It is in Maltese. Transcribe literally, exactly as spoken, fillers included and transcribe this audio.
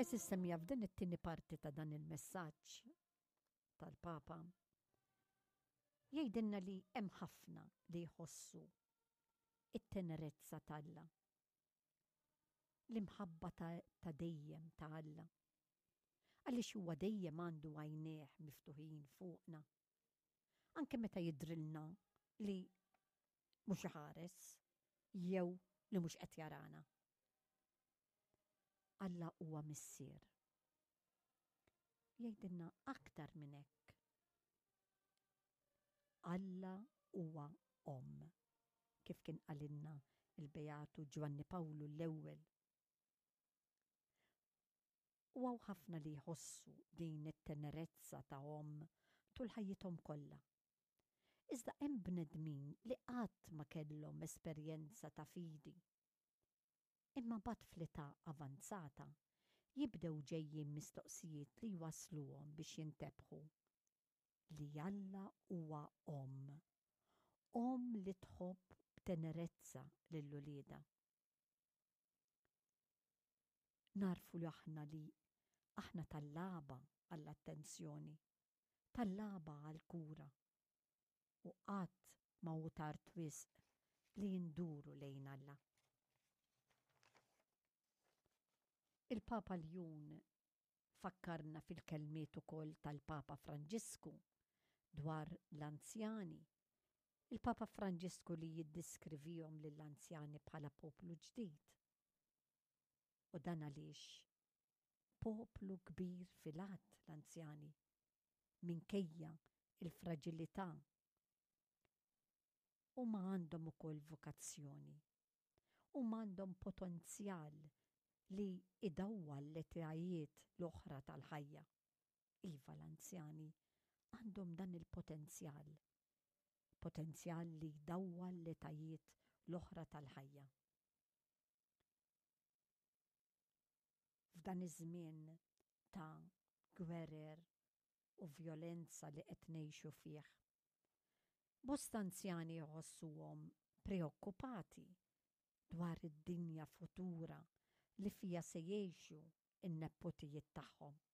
Għeżież semmiegħa, f'din it-tieni parti ta' dan il-messaġġ tal-Papa jgħidilna li hemm ħafna li jħossu it-tenerezza t'Alla. L-imħabba ta', ta dejjem ta' Alla. Għaliex huwa dejjem għandu għajnejh miftuħin fuqna. Anke meta jidrilna li mhux iħares jew li mhux qed jarana. Alla huwa missier. Jgħidilna aktar minn hekk. Alla huwa omm, kif kien qalilna il-Beatu Ġwanni Pawlu l-ewwel. U hawn ħafna li jħossu din it-tenerezza ta' omm tul ħajjithom kollha. Iżda hemm bnedmin li qatt ma kellhom esperjenza ta' fidi. Imma mbagħad fl-età avanzata jibdew ġejjin mistoqsijiet li jwasluhom biex jintebħu li Alla huwa omm. Omm li tħobb b'tenerezza lil uliedha. Narfu li aħna li aħna tallaba għall-attenzjoni, tallaba għall-kura. U qatt ma hu tard wisq li nduru lejn Alla. Il-Papa Ljun fakkarna fil-kelmiet ukoll tal-Papa Franġisku dwar l-anzjani. Il-Papa Franġisku li jiddiskrivihom lill-anzjani bħala poplu ġdid. U dan għaliex poplu kbir fil-għadd l-anzjani, minkejja il-fraġilità, huma għandhom ukoll vokazzjoni. Huma għandhom potenzjal li idawwal l-etajiet l-oħra tal-ħajja. Iva, l-anzjani għandhom dan il-potenzjal. Potenzjal li jdawwal l-etajiet l-oħra tal-ħajja. F'dan iż-żmien ta' gwerer u vjolenza li qed ngħixu fih, bosta anzjani jħossuhom preokkupati dwar id-dinja futura li fija se jgħixu n-nepotijiet tagħhom.